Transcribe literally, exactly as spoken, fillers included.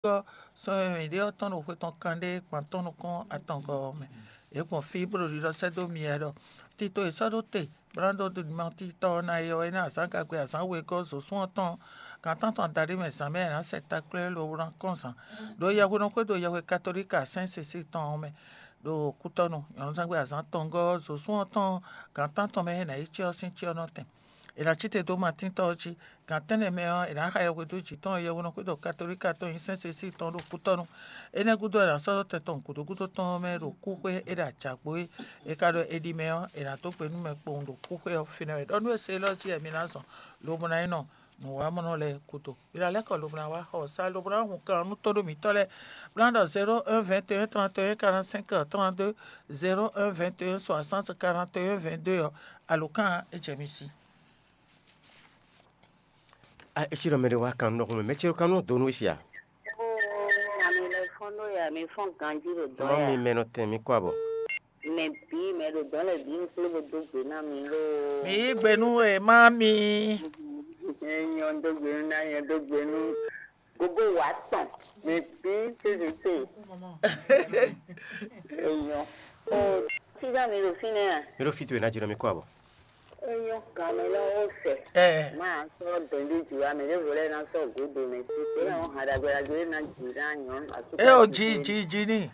Ɔ́, sɔ́ e mǐ ɖe ɔ́ tɔn ɖo xwe tɔn kanɖé gban tɔn nukɔn atɔngɔ́ ɔ́ mɛ. Yě gbɔn fí bó ɖo ɖiɖɔ sɛ́ dó mi wɛ ɖɔ: Tito e sɔ́ ɖó te, bó ná dó ɖo mimɔtítɔ́ ɔ́ ná é ɔ́, é ná azǎn gagbe azǎn we gɔ́ zǒsún ɔ́ tɔn gan tántɔn adaɖé mɛ zǎn mɛ è nǎ sɛ takplɛ́ lobo ná kɔn zǎn ɖo yɛhweɖɔxwé ɖo yɛhwe katolíki Sɛ́n Sesíi tɔn ɔ́ mɛ ɖo kútɔ́nu. Nyɔ̌nuzángbe azǎn atɔngɔ́ ɔ́, zǒsún ɔ́ tɔn gan tántɔn mɛ é ná yi cyɔ sín cyɔ nɔ́ tɛn. È nǎ cí te dó Matín tɔ́ ɔ́ jí. Gan tɛ́nnɛ mɛ ɔ́, è nǎ xa yɛhweɖó jǐ tɔn e yɛhweɖɔxwé ɖo katolíka tɔn nyi Sɛ́n Sesíi tɔn ɖo kútɔ́nu. Énɛ́ gúdo è nǎ sɔ́ dó tɛn tɔn gǔdo gúdo tɔn ɔ́ mɛ ɖo kúxwé é ɖo ajǎgbó é. È ka ɖɔ è ɖi mɛ ɔ́, è nǎ dó gbe nú mɛ kpowun ɖo kúxwé ɔ́ fínɛ́ wɛ. Ɖɔ nú e se élɔ́ jí wɛ mi ná zɔn, lobo ná yi nɔ nǔwamɔnɔ lɛ́ɛ gúdo. Mi ná lɛ́ kɔ lobo ná wá xɔ sá lobo ná hun kan nú tóɖó mǐtɔn lɛ́ɛ. Bó ná ɖɔ zéro un vingt et un trente et un quarante-cinq trente-deux, zéro un vingt et un soixante quarante et un vingt-deux ɔ́, alǒkan ɔ́, é jɛ mi sí. A é cí ɖɔ mɛ ɖé wá kan nú ɖɔhun mɛ, mɛ ce ɖo kan nú dó nú we sia? Ami lɛ fɔn ɖo ya, mi fɔn ganji ɖo dɔn Má ya. Mi mɛ nɔ tɛn mi kɔ abɔ. Mɛ bí mɛ ɖo dɔn lɛ bí mi kplé bo dó gbe ná mi ló. Mi yí gbe nú e má mi. Nyɔ dó gbe nú ná nyɔ dó gbe nú. Gogo wà tɔn. Mɛ bí sèse sè. Èèyàn. O sísá mi ɖo fínɛ́ à? Mi ɖo fí towe ná jɛ nɔ mi kɔ abɔ. Eyɔn kan mɛ lɔ ó sɛ. Ɛ. Má sɔ́ dɛ̌ndé jǐ wá mɛ ɖěvo lɛ́ɛ ná sɔ́ gǔdo mɛ sí. Tě ɔ́ hàn ɖagbe ɖagbe ná jǐ ná nyɔ̌nu asú. Ɛ o jí jí jí ní.